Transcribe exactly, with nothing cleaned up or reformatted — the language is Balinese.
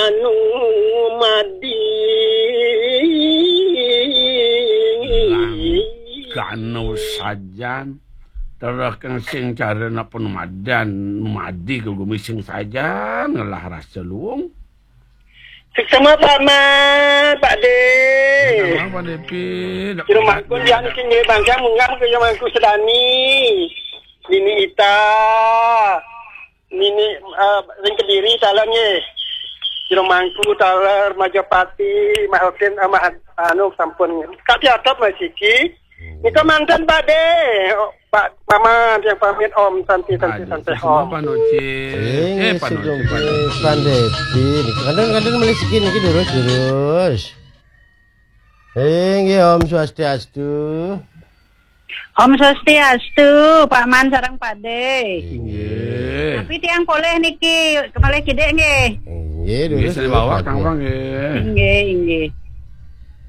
Anu madi. Langkano sajan. Terus kang sing cara napa nu madan, nu madi ka gumising sajan ngelah rasa luung. Suksma Pak Man, Pak De. Apa, Depi? Jero mangku dia niki nggih bangsa munggah ke mangku sedani. Nini Ita. Nini, eh, ring Kediri taler nggih. Jero mangku taler Majapati, Mahotin, eh, Mah-, anu sampun. Kak Piatop masih ki. Nika manten Pak De. Oh, Pak Maman yang pamit Om, santi, santi, Aduh, santi, sama Om. Pak Noci. Eh, Pak Noci, Pak Noci. Pak Depi. Niki kanten-kanten melih siki niki durus, durus. Inggih, Om Swastiastu. Om Swastiastu, Pak Man sareng Pak De. Inggih. Tapi tiang polih niki, kepalih kidik nggih. Inggih, durus, Nggih, saya durus, bawa Pak Kang De. Wang nggih. Inggih, inggih.